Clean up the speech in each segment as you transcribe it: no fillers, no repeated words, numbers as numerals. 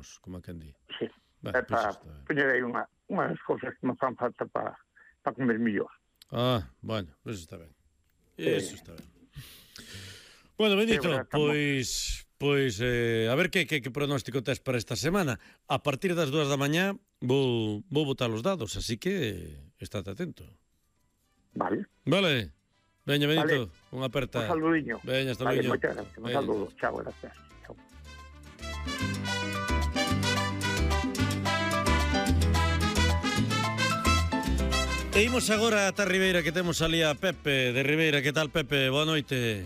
vamos, como a quen di. Sí. Ben, É pois para está ben. poñer aí unhas cousas que me fan falta para comer mellor. Bueno, eso está ben. Eso está ben. Bueno, Benito, pois a ver que pronóstico tes para esta semana. A partir das 2 da mañá vou botar os dados, así que estate atento. Vale. Vale. Veña, Benito, Vale. unha aperta. Un saludiño. Veña, hasta Vale, luego. moitas gracias. Un saludo. Chao, gracias. Chao. E imos agora ata Ribeira, que temos ali a Pepe de Ribeira. Que tal, Pepe? Boa noite.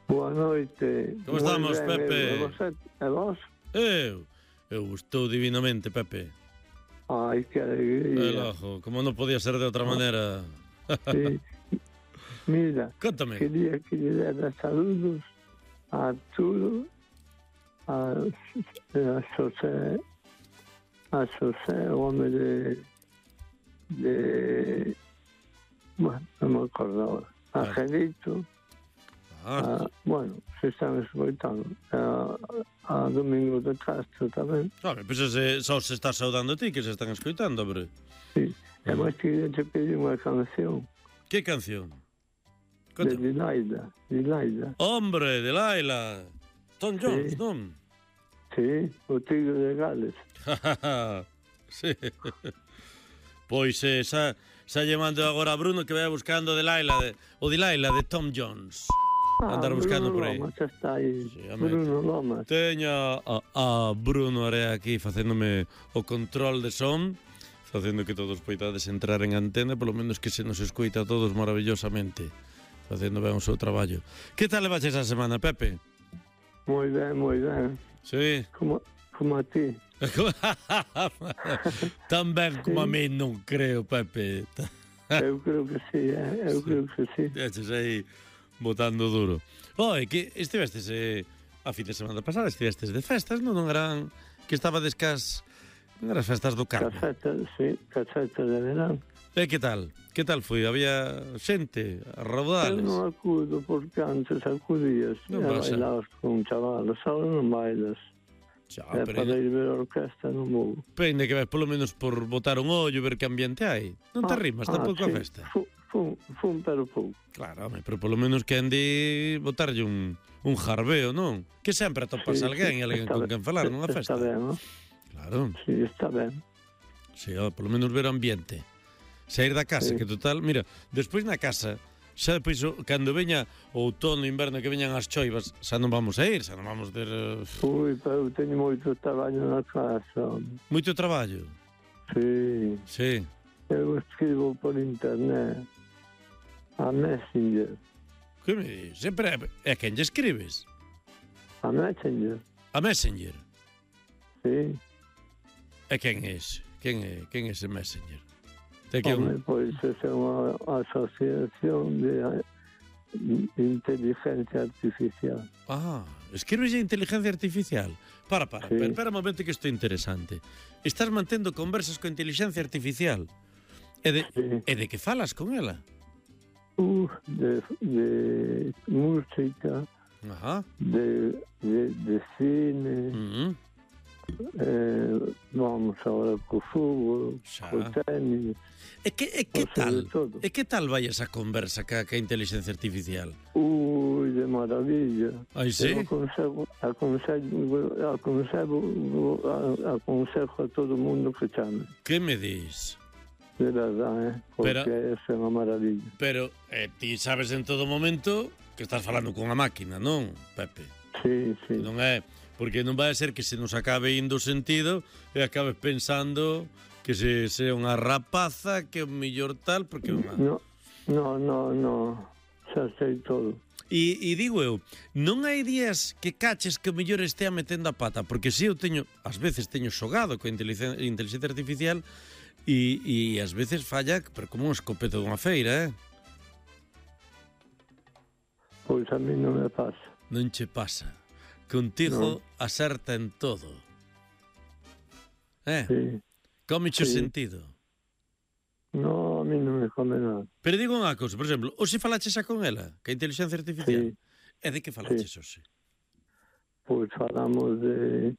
Boa noite. Como estamos, Pepe? E vos? Eu estou divinamente, Pepe. Ai, que alegría. El ojo, como non podía ser de outra maneira. Sí. Mira, Contame. quería que lle dera saludos a Arturo, a Xosé, o home bueno, non me acordo ahora. A Angelito, bueno, se están escoitando. A Domingo de Castro tamén. Pois só se está saudando a ti que se están escoitando, hombre. Sí, e máis que te pedi unha canción. Que canción? De Dilaida. Hombre, de Laila. Tom Jones, non? Sí, o Tigre de Gales. Sí. Pois xa lle mando agora a Bruno que vai buscando o de Laila de Tom Jones. Andar buscando por aí. Lomas está aí. Sí, Bruno Lomas. Teña a Bruno Area aquí facéndome o control de son, facendo que todos poidades entrar en antena, polo menos que se nos escoita a todos maravillosamente, facendo ben o seu traballo. Que tal le baches a semana, Pepe? Moi ben. Sí. Como a ti. Tan ben como a mí non creo, Pepe. Eu creo que sí, creo que sí. Eches aí botando duro. Que estivestes a fin de semana pasada, estivestes de festas, non eran que estabades non eras festas do Carme. Casetas de verán. Que tal? Que tal foi? Había xente a raudales? Eu non acudo porque antes acudías e bailabas con chavalos, ahora non bailas. Para ir ver a orquesta non vou. Pende que ves polo menos por botar un ollo, ver que ambiente hai. Non te rimas tampouco a festa? Fun pero pouco. Claro, home, pero polo menos que ande botarlle un jarbeo, non? Que sempre atopas alguén e alguén con quen falar nunha festa. Está ben, non? Claro. Sí, está ben. Sí, polo menos ver o ambiente. Saír da casa, que total, mira, despois na casa, xa depois, cando veña o outono, inverno, que veñan as choivas, xa non vamos a ir, xa non vamos ter... Pero eu teño moito traballo na casa. Moito traballo? Sí. Sí. Eu escribo por internet, a Messenger. Que me dis? Sempre é quen lle escribes? A Messenger. A Messenger? Sí. E quen é ese? Quen é ese Messenger? Pois é unha asociación de inteligencia artificial. Escribes a inteligencia artificial? Espera un momento que isto é interesante. Estás mantendo conversas con inteligencia artificial? E de que falas con ela? De música, de cine, vamos agora co fútbol, co tenis. E que tal vai esa conversa ca inteligencia artificial? De maravilla. Ai, sí? Aconsello a todo o mundo que chame. Que me dis? De verdade, porque é unha maravilla. Pero ti sabes en todo momento que estás falando con a máquina, non, Pepe? Sí. Non é, porque non vai a ser que se nos acabe indo o sentido e acabes pensando que se é unha rapaza, que é o mellor tal, porque é unha... No, xa sei todo. E digo eu, non hai días que caches que o mellor estea metendo a pata, porque se eu teño, ás veces teño xogado coa inteligencia artificial e ás veces falla, pero como un escopeto dunha feira, Pois a mí non me pasa. Non che pasa. Contigo acerta en todo. Sí. Cómeche o sentido. No, a mí non me come nada. Pero digo unha cousa, por exemplo, hoxe falaches xa con ela, que a inteligencia artificial? E de que falaches hoxe? Pois falamos de